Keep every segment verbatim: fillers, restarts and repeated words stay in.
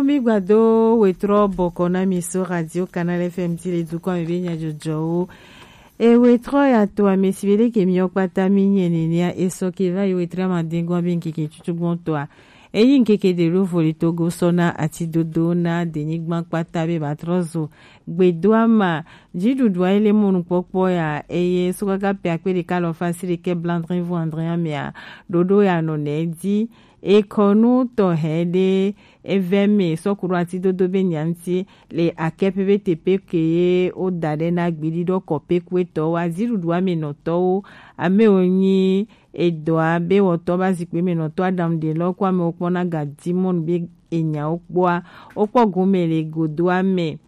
Mi gbado wetrɔ bɔkɔ na mi so Radio Canal F M ti le dukɔ mi be nya jɔjɔwo. E wetrɔ ya to ame si be leke mi kpata mi nye nenia e sɔ ke va yi wetrɔ ma dengo be nkeke tutu gbɔn tɔa. Eyi nkeke de lo voli togo sɔ na ati dodo na denyigba kpata be ba trɔ zo gbedoa ma. Dziɖuɖua ele mɔnukpɔkpɔ ya eye so kaka pe akpe ɖeka lɔ fa si ɖekɛ blandrin vu andrin amea ɖoɖo ya nɔ nɛ di. Ekɔnu tɔ hɛ ɖe evɛ me sɔku ɖo ati dodo be nyanti le akɛ pe be tepe ke ye wo da ɖe na gbiɖi ɖɔ kɔ pe kue tɔ wa dziɖuɖua me nɔtɔwo ame wo nyi edɔa be wɔtɔ ba zikpe me nɔtɔ aɖaŋu ɖe lɔ kɔ ame wo kpɔ na ga dimɔnu be enyawo kpɔa wo kpɔ gome le godoa me.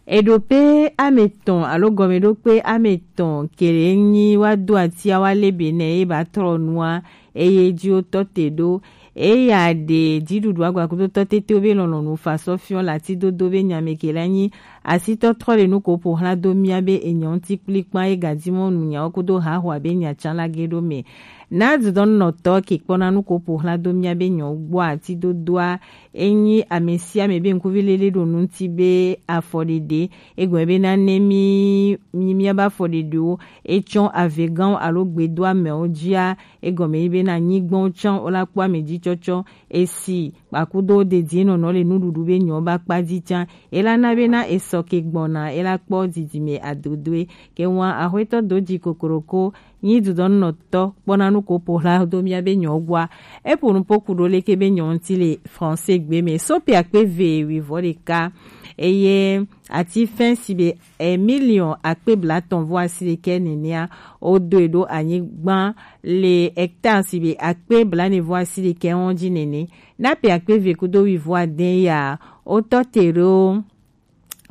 Eɖo pe ame tɔn alo gɔmeɖokpe ame tɔn kele nyi wa do atia wa le be nɛ ye ba trɔ nua eye ji wo tɔ te ɖo. Eya ɖe dziɖuɖu agbakudo tɔ tete be lɔlɔnu fa sɔ fiɔ lati dodo be nyame kele nyi asi tɔ trɔ le nu ko po hla do mia be enyɔ ŋuti kplikpa ye gadimɔ nu nyawo kudo haho abe nya can la ge ɖo me. Na dudɔnunɔtɔ ke kpɔna nu ko po hla do mia be nyɔ gbɔ ati dodoa enyi ame sia ame be ŋkuvi lele ɖo nu ŋuti be afɔɖeɖe egɔme be na ne mi mi mia ba afɔɖeɖewo etsɔ avegãwo alo gbedoamewo dzia egɔme yi be na nyigbɔnwo tsã wo la kpɔ ame dzi tsɔtsɔ esi kpakudo dedienɔnɔ le nuɖuɖu be nyɔ ba kpa dzi tsã ela na be na esɔ ke gbɔna ela kpɔ didime adodoe ke ŋua axɔetɔ do dzi kokoroko nyi dudɔnunɔtɔ kpɔna nu ko po hla do mia be nyɔ gbɔa. Eƒo nu poku ɖo leke be nyɔ ŋuti le français gbe me so pe akpe ve wivɔ ɖeka eye ati fɛn si be e million akpe blatɔn vɔ asi ɖekɛ nenea wo do e ɖo anyigba le hectare si be akpe blanevɔ asi ɖekɛ wɔn dzi nene na pe akpe ve kudo wivɔ adɛn ya wo tɔ te ɖo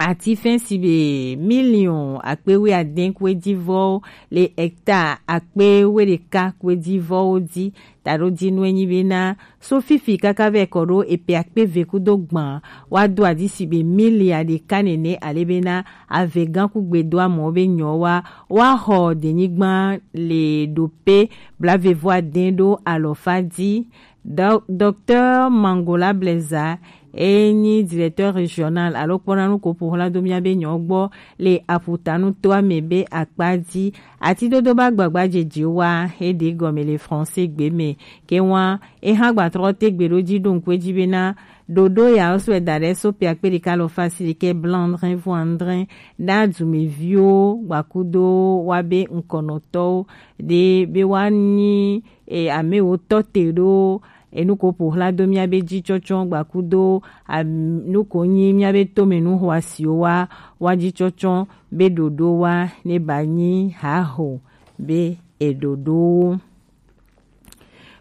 ati fɛn si be million akpe wi adɛn kue dzi vɔ le hectare akpe wi ɖeka kue dzi vɔ wo dzi taɖo dzi nu enyi be na so fifi kaka vɛ kɔ ɖo epe akpe ve kudo gbã wa do adi si be milia ɖeka nene ale be na avegã kugbe do amɔ be nyɔ wa wa xɔ denyigba le ɖo pe blavevɔ adɛn ɖo alɔfa dzi. Docteur Mangola Blaise enyi directeur régional alo kpɔna nu ko ƒo xla do mia be nyɔ gbɔ le aƒutanu toa me be akpa dzi ati dodo ba gbagba dzedze wa eɖe gɔme le français gbe me ke wa eha gbatrɔ te gbe ɖo dzi ɖo ŋkue dzi be na ɖoɖo ya wo sɔe da ɖe so pe akpe ɖeka lɔ fa si ɖekɛ blanc drin vo andrin ɖa dumeviwo gbakudo wa be ŋkɔnɔtɔwo ɖe be wa nyi e, ame wo tɔ te ɖo enu ko ƒo xla do mia be dzi tsɔtsɔ gbakudo nu ko nyi mia be tome nu xɔasiwo wa wa dzi tsɔtsɔ be ɖoɖo wa ne ba nyi haho be eɖoɖowo.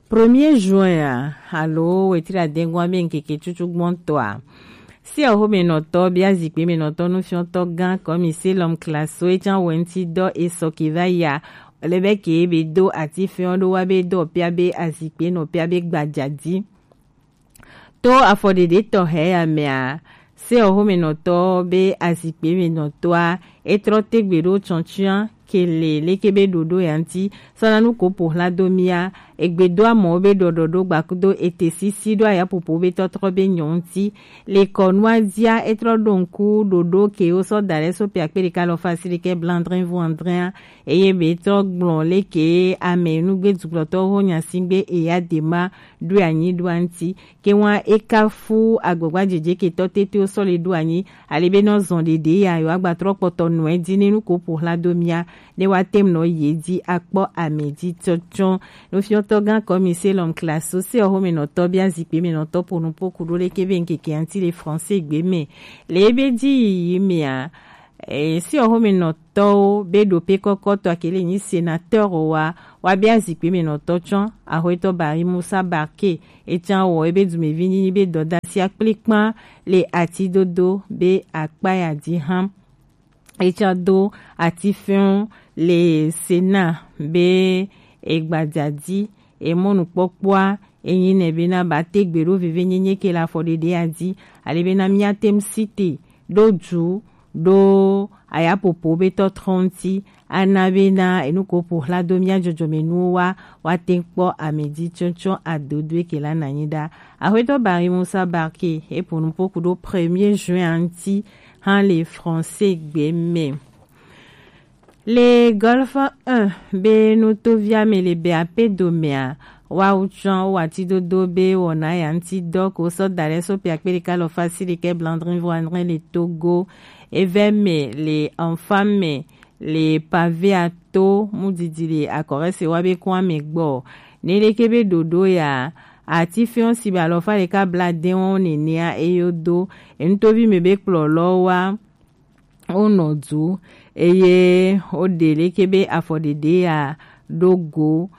Premier juin a alo wetri adengua be ŋkeke tutu gbɔntɔa. Si oho menɔtɔ bia zikpe menɔtɔ nufiɔtɔ gã kɔmi selɔm klaso etsan wɛnti dɔ esɔ ke va ya le be ke be do ati fɛn ɖo wa be dɔ pia be azikpe nɔ pia be gbadzadi. To afɔɖeɖe tɔxɛ ya mea se oho menɔtɔ be azikpe menɔtɔa etrɔ tegbe ɖo tsɔntsɔa kele leke be ɖoɖo ya ŋti sɔna nu ko ƒo xla do mia egbedoa mɔ be ɖɔɖɔ ɖo gbakudo ete sisi ɖo ayapopo be tɔtrɔ be nyɔ ŋti le kɔnua dzia etrɔ ɖo ŋku ɖoɖo ke wo sɔ da ɖe so pe akpe ɖeka lɔ fa si ɖekɛ blandrin vu andrin eye be trɔ gblɔ leke ame nugbe dukplɔtɔwo ho nya si gbe eya de ma ɖo anyi ɖo ŋti ke wa eka fu agbagba dzedze ke tɔ tete wo sɔ le ɖo anyi ale be nɔ zɔn ɖeɖe ya yo agbatrɔ kpɔtɔ nɔe dzi ne nu ko ƒo xla do mia ne wa tem nɔ ye dzi akpɔ ame dzi tsɔtsɔ. Nufiɔtɔ gã kɔmi selɔm klaso se oho menɔtɔ bia zikpe menɔtɔ ƒo nu ƒo ku ɖo leke be ŋkeke ŋti le français gbe me le ebe dzi yiyi mea. E, si oho menɔtɔwo be ɖo pe kɔkɔtɔ akele nyi sénateur wa wa bia zikpe menɔtɔ tsɔ ahoetɔ bari musa barke etsa wɔ ebe dumevi nyinyi be dɔdasi akplikpa le ati dodo be akpa ya dzi hã. Etsa do ati fɛn le sena be egbadzadi emɔnukpɔkpɔa enyi nɛ bena ba te gbe ɖo veve nyenye ke le afɔɖeɖe ya dzi ale bena mia tem site ɖo du ɖo ayapopo be tɔtrɔ ŋuti, ana bena enu ko ƒo xla do mía dzɔdzɔmenuwo wa, woate ŋu kpɔ amedzitsɔtsɔ adodoe ke la nanyi ɖa. Axwetɔ Barry Musa Barke eƒo nuƒo ku ɖo premier juin ŋuti hã le français gbe me. Le Golfe un be nutovia me le be ape domea, woawo tsɔ wo atidodo be wɔna ya ŋuti dɔ ko sɔ da ɖe so pe akpe ɖeka alafa asiɖekɛ blaadre vɔ adre le Togo. Evɛ me le Anfa me le Pavea to mudidi le akɔrɛse wa be kɔn ame gbɔ. Neneke be ɖoɖo ya, atifɛn si be alafa ɖeka blaadɛ wɔn nenea eyo do enutovi me be kplɔlɔ wa wonɔ du, eye woɖe leke be afɔɖeɖe ya ɖo go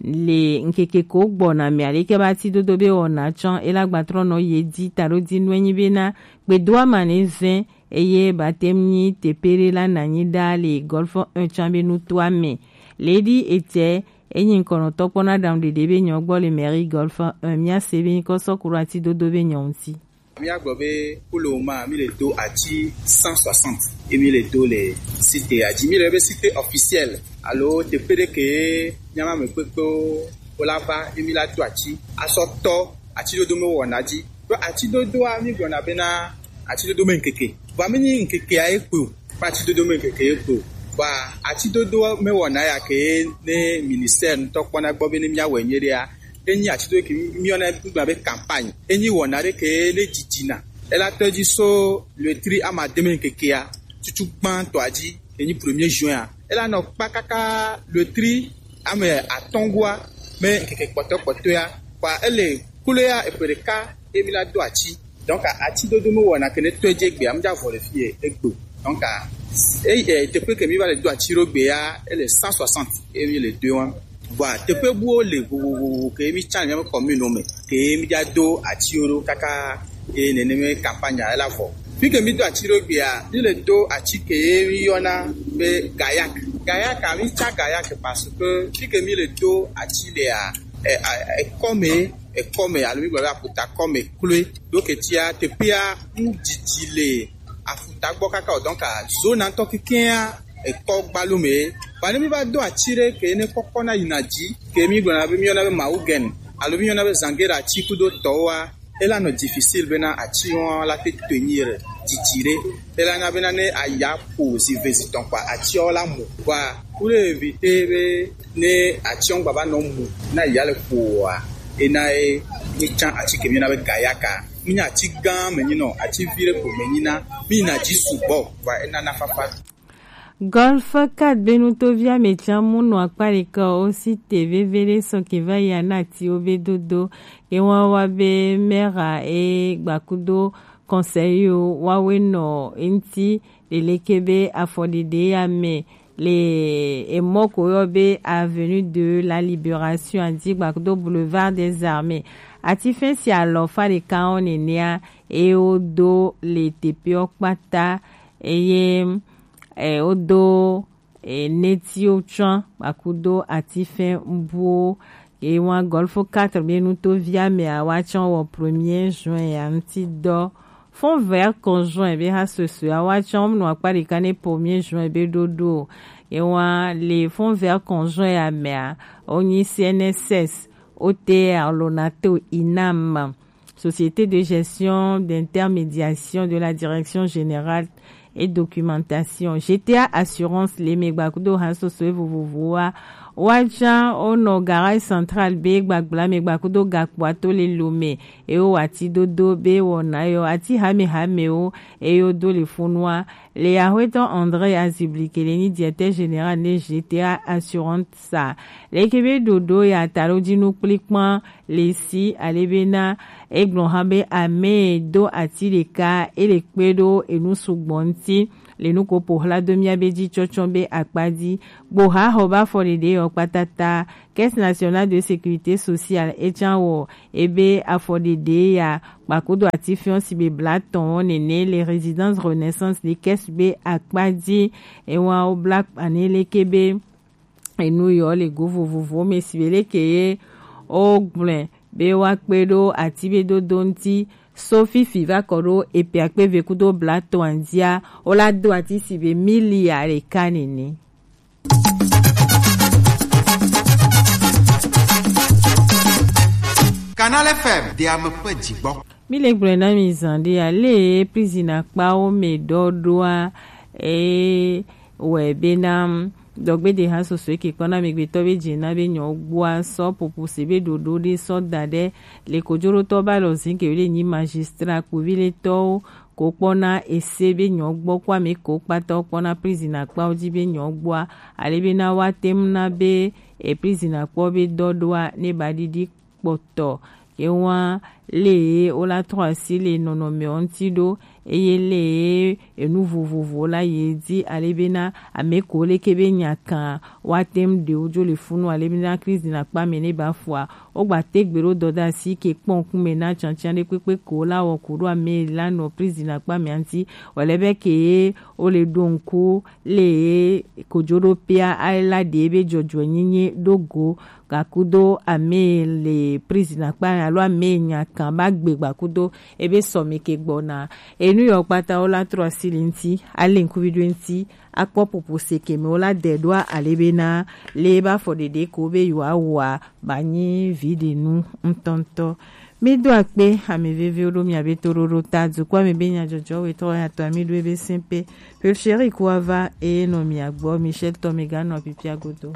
le ŋkeke ko gbɔna mea leke be atidodo be wɔna tsɔ ela gbatrɔ nɔ ye di taɖodinu enyi bena gbedoa ma ne vɛ eye bate ŋu nyi teƒe ɖe la nanyi ɖa le Golfe un tsã be nutoa me. Lady Etsɛ enyi ŋkɔnɔtɔ kpɔna ɖaŋu ɖeɖe be nyɔ gbɔ le mairie Golfe un, mía se be nyikɔ sɔ ku ɖo atidodo be nyɔ ŋuti. Míagblɔ be pour le moment, mi le do ati cent soixante ye mi le do le site ya dzi. Mi le be site officiel alo teƒe ɖe ke míama ame kpekpewo wola va ye mi la do ati asɔ tɔ atidodo me wɔna dzi. Ɖo atidodoa mi gblɔna bena atidodo me ŋkeke. Vɔa mi nyi ŋkekea ye kpe o. Kpa atidodo me ŋkeke ye kpe o. Vɔa atidodo me wɔna ya ke ne ministère ŋutɔ kpɔna gbɔ be ne míawɔe nyuie ɖea, enyi ati ɖo ke míyɔna gblɔna be campagne. Enyi wɔna ɖe ke ne dzidzina. Ela tɔ dzi so le tri ama deme ŋkekea tutu gbãtɔa dzi, enyi premier juin a. Ela nɔ kpa kaka le tri ame atɔ̃ goa me ŋkeke kpɔtɔ kpɔtɔea. Kpa ele kulo ya eƒe ɖeka emi la do ati. Donc ati dodo me wɔna ke ne tɔ dzi egbea, mdza vɔ le fie egbe. Donc e, e, teƒe ke mi va le do ati ɖo gbea, ele cent soixante emi le do wa. Vɔa teƒe buwo le vovovo ke mi tsa le míaƒe commune me ke mi dza do atiwo ɖo kaka eye neneme campagne ela vɔ. Fi ke mi do ati ɖo gbea, mi le do ati ke ye mi yɔna be gayak. Gayak a, mi tsa gayak parce que fi ke mi le do ati lea, e, a, ekɔme, ekɔme alo mi gblɔ be aƒuta kɔme kloe. Ɖo ke tia teƒea ŋu didi le aƒuta gbɔ kaka o, donc zona ŋutɔ kekea ekɔ gbalo me. Vɔ ne mi va do ati ɖe ke ne kɔkɔ na yina dzi ke mi gblɔna be mi yɔna be mawugen alo mi yɔna be zangera ati kudo tɔwoa, ela nɔ difficile bena ati wɔn la te tenir didi ɖe. Ela na bena ne aya ƒo zive zitɔn kpa ati wɔn la mu. Vɔa pour éviter be ne ati wɔn gbava nɔ mu na ya le ƒoa, ena ye mi tsa ati ke mi yɔna be gayaka. Mi nya ati gã me nyi nɔ, ati vi ɖe ko me nyi na, mi yina dzi sugbɔ, vɔa ena na fafa. Golfe quatre be nutovia me tsã mu nɔ akpa ɖeka o, si te veve ɖe sɔ ke va yi ana atiwo be dodo. Ye wa wa be mera e gbakudo conseil yo wa we nɔ enti leleke be afɔɖeɖe ya me le emɔ ko yɔ be avenue de la Libération a dzi gbakudo boulevard des Armées. Ati fɛn si alɔ fa ɖeka wɔn nenea e wo do le teƒeɔ kpata eye e, wodo e, netiwo tsã gbakudo atifɛn buwo. Ye wa Golfe quatre be nutovia mea wa tsã wɔ premier juin ya ŋuti dɔ. Fonds vert conjoint be ha susue a wa tsã wonɔ akpa ɖeka ne premier juin be ɖoɖo. Ye wa le fonds vert conjoint ya mea, wonyi C N S S, O T R, Lonato, inam, Société de gestion d'intermédiation de la Direction générale et documentation, G T A Assurance, le me gbakudo ha soso vovovoa. Wa tsã wonɔ garage central be gbagbla me gbakudo gakpoa to le Lomé. Ewo ati dodo be wɔna yɔ ati hame hamewo eyo do le funua. Le Axwetɔ André Azibli ke le nyi directeur général ne G T A Assurance sa. Leke be ɖoɖo ya taɖodinu kplikpan le si ale bena egblɔ hã be ame do ati ɖeka ele kpe ɖo enu sugbɔ ŋuti le nu ko ƒo xla do mía be dzi tsɔtsɔ be akpa dzi. Gboha xɔ be afɔɖeɖe yɔ kpatata. Caisse nationale de sécurité sociale etsã wɔ ebe afɔɖeɖe ya kpakudo ati fiɔ si be bla tɔn nene le résidence Renaissance de Caisse be akpa dzi. Ewa wo bla kpa ne leke be enu yɔ le go vovovowo me si be leke ye wogblɔe be woakpe ɖo ati be dodo ŋuti So fifi va kɔ ɖo epe akpe eve kudo blatɔ andia, wo la do ati si be mili ya ɖeka nene. Canal F M, de ame ƒe dzigbɔ. Mi le gblɔe na mi zã ɖe ale prison akpawo me ɖɔɖɔa, e wɔ bena dɔgbedeha sɔsɔe ke kpɔna amegbetɔ be dze na be nyɔ gbɔa sɔ popo se be ɖoɖo ɖe sɔ da ɖe le kojoɖotɔ ba lɔ zin ke le nyi magistrat kpovi le tɔwo ko kpɔna ese be nyɔ gbɔ kpɔ ame ko kpata kpɔna prison akpawo dzi be nyɔ gbɔa, ale bena wa tem na be e prison akpɔ be dɔɖoa ne ba ɖiɖi kpɔtɔ. Ke wa le wo la trɔ asi le nɔnɔmewo ŋuti ɖo, eye le enu vovovowo la ye dzi ale bena ame ko leke be nya kan wa tem ɖewo dzo le funu ale bena krizi na kpa me ne ba fua. Wo gba te gbe ɖo dɔdasi ke kpɔ ŋkume na tiatia ɖe kpekpe ko la wɔ ko ɖo ame la nɔ prison akpa me ŋuti. Wale be ke wo le ɖo ŋku le kojoɖoƒea ala ɖe be dzɔdzɔenyenye ɖo go gakudo ame le prison akpa alo ame nya kan ba gbe gbakudo ebe sɔmi ke gbɔna. Enu yɔ kpata wo la trɔ asi le ŋuti, ale ŋkuvi ɖo ŋuti, akpɔ popo se ke me wo la de ɖoa ale bena le ba fɔ ɖeɖe ko be yewoa wɔa ba nyi vi ɖe nu ŋutɔŋutɔ. Mi do akpe ame veviwo ɖo mia be toɖoɖo ta dukɔa me be nyadzɔdzɔ wetɔ ya tɔ ami ɖo ebe sɛnpe. Pelcheri ko ava eye nɔ mia gbɔ Michel tɔ me ganɔ pipia godo.